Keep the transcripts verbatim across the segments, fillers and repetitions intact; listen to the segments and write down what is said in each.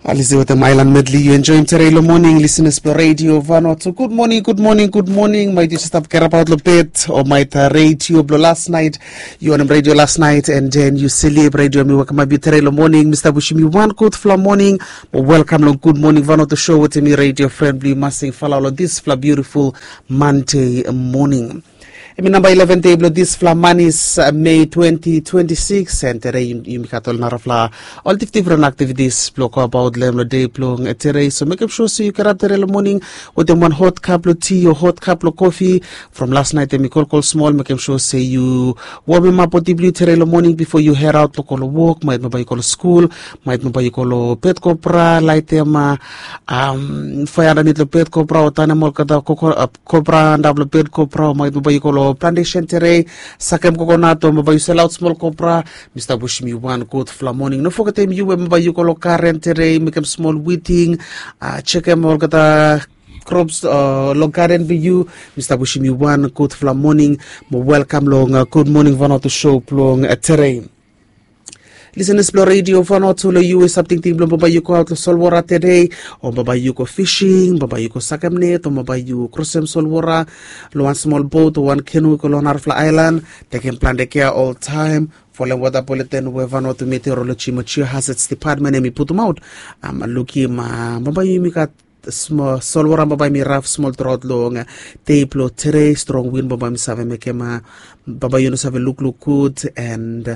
Alisi wetem ailan medli yu enjoim tere long moning, lisenas blong redio Vanuatu. Gud moning, gud moning, gud moning. Maet yu stap kerapaot long bed o maet redio blong las naet, yu wanem redio las naet and then yu slip, redio mi wekemap yu tere long moning. Mi stap wisim yu wan gudfala moning. Mo welkam long Gud Moning Vanuatu show wetem mi redio fren blong yu Masing Falao long disfala biutiful Mande moning. Em i namba ileven dei blong disfala manis, Mei twenti twenti sikis, and tere yumi gat ol narafala ol difdifren aktivitis blong go abaot long em long dei blong tere. So mekem sua se yu gerap tere long moning wetem wan hot kap blong ti o hot kap blong kofi. From las naet em i kolkol smol, mekem sua se yu womemap bodi blong yu tere long moning bifo yu head aot blong go long wok, maet bambae yu go long skul, maet bambae yu go long bed kobra, laetem faea andanit long bed kobra o tanem olgeta kobra antap long bed kobra, o maet bambae yu go long plantesen tere, sakem kokonat o bambae yu selaot smol kobra. Mi stap wisim yu wan gudfala moning. No fogetem yu we bambae yu go long garen tere, mekem smol witing, jekem olgeta krops long garen blong yu. Mi stap wisim yu wan gudfala moning mo welkam long Gud Moning Vanuatu show blong tere. Lisenas blong redio Vanuatu, long yu we yu save tingting blong bambae yu go aot long solwora tere, o bambae yu go fising, bambae yu go sakem net, o bambae yu krosem solwora long wan smol bot o wan kenu i go long narafala aelan. Tekem plante kea oltaem. Folem wota buleten we Vanuatu Meteoroloji mo Geohazards Department em i putumaot. Lukim bambae yumi gat smol solwora bambae mi raf smol truaot long dei blong tere. Strong win bambae mi save mekem bambae yu no save lukluk gud, and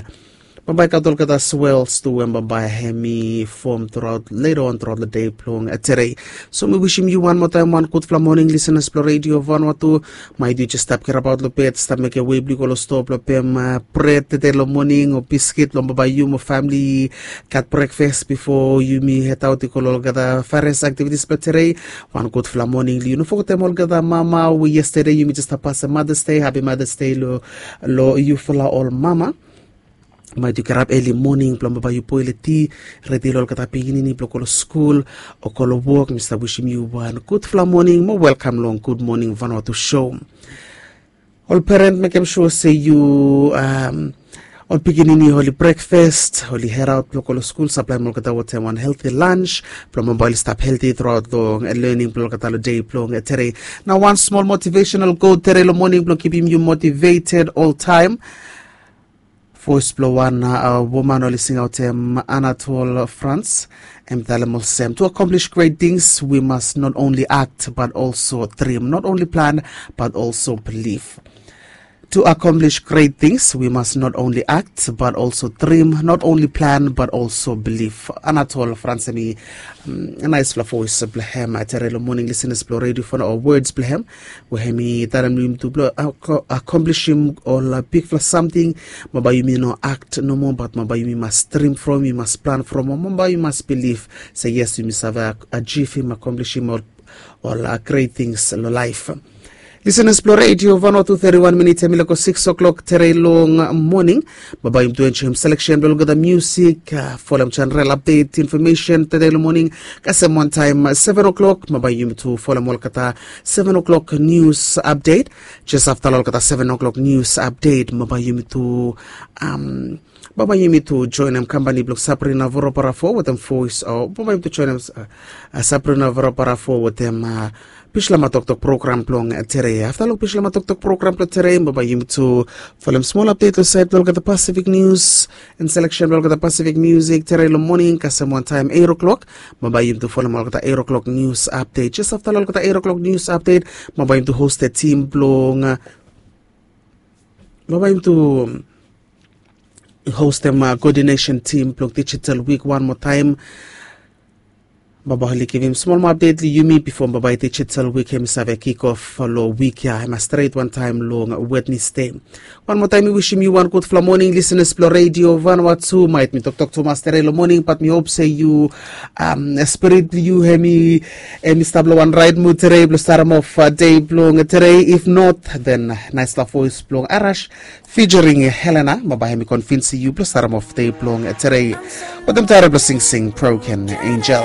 bambae gat olgeta swels tu we bambae hem i fom truaot leta on truaot long dei blong tere. So mi wisim yu wan moa taem wan gudfala moning, lisenas blong redio Vanuatu. Maet yu jes stap kerapaot long bed, stap mekem wei blong yu go long stoa blong pem bred tede long moning o biskit blong bambae yu mo famili gat brekfas bifo yumi hedaot i go long olgeta fares aktivitis blong tere. Wan gudfala moning long yu. No fogetem olgeta mama we yestede yumi jes stap pasem Mothers Day. Hapi Mothers Day long yufala ol mama. Maet yu gerap eli moning blong bambae yu boel ti, redi long olgeta pikinini blong go long skul o go long wok. Mi stap wisim yu wan gudfala moning mo welkam long Gud Moning Vanuatu show. Ol peren, mekem sua se yu ol pikinini oli brekfas, oli hedaot blong go long skul, saplaem olgeta wetem wan helti lans blong bambae oli stap helti truaot long lening blong olgeta long dei blong tere. Nao wan smol motivesenal kot tere long moning blong kipim yu motiveted oltaem. Voes blong wan woman oli singaotem, Anatole France, em i talem olsem, to accomplish great things we must not only act but also dream, not only plan but also believe. To accomplish great things we must not only act but also dream, not only plan but also believe. Anatole France, em i naesfala voes blong hem tere long moning, lisenas blong redio Vanuatu, words blong hem we hem i talem long yumi tu blong akomplishim ol bigfala samting. Bambae yumi no akt nomo, bat bambae yumi mas drim from, yumi mas plan from, bambae yumi mas bilif se yes, yumi save ajivim, akomplishim ol gret tings long laef. Lisenas blong redio Vanuatu, teti wan minit em i lego sikis oklok tere long moning. Bambae yumi tu enjoim seleksen blong olgeta musik, folem jeneral apdet infomesen tere long moning. Kasem wantaem seven oklok bambae yumi tu folem olgeta seven oklok nius apdet. Jes afta long olgeta seven oklok nius apdet bambae yumi tu bambae yumi tu joenem kampani blong Sabrina Voroparafo wetem voes, o bambae yumi tu joenem Sabrina Voroparafo wetem Bislama Toktok program blong tere. Afta long Bislama Toktok program blong tere bambae yumi tu folem smol apdet long saed blong olgeta Pasifik nius and seleksen blong olgeta Pasifik musik tere long moning. Kasem wantaem eit oklok bambae yumi tu folem olgeta eit oklok nius apdet. Jes afta long olgeta eit oklok nius apdet bambae yumi tu hostem tim blong bambae yumi tu hostem koodinesen tim blong dijital wik wan moa taem. Bambae oli givim smol moa apdet long yumi bifo bambae dijital wik hem i save kik of long wik ya, hem i stret wantaem long Wednesde. Wan moa taem mi wisim yu wan gudfala moning, lisenas blong redio Vanuatu. Maet mi toktok tumas tere long moning, bat mi hop se yu spirit blong yu hem i stap long wan raet mud tere blong starem of dei blong tere. If not, then naesfala voes blong Arash featuring Helena bambae hem i konvinsim yu blong starem of dei blong tere wetem taem blong singsing Broken Angel.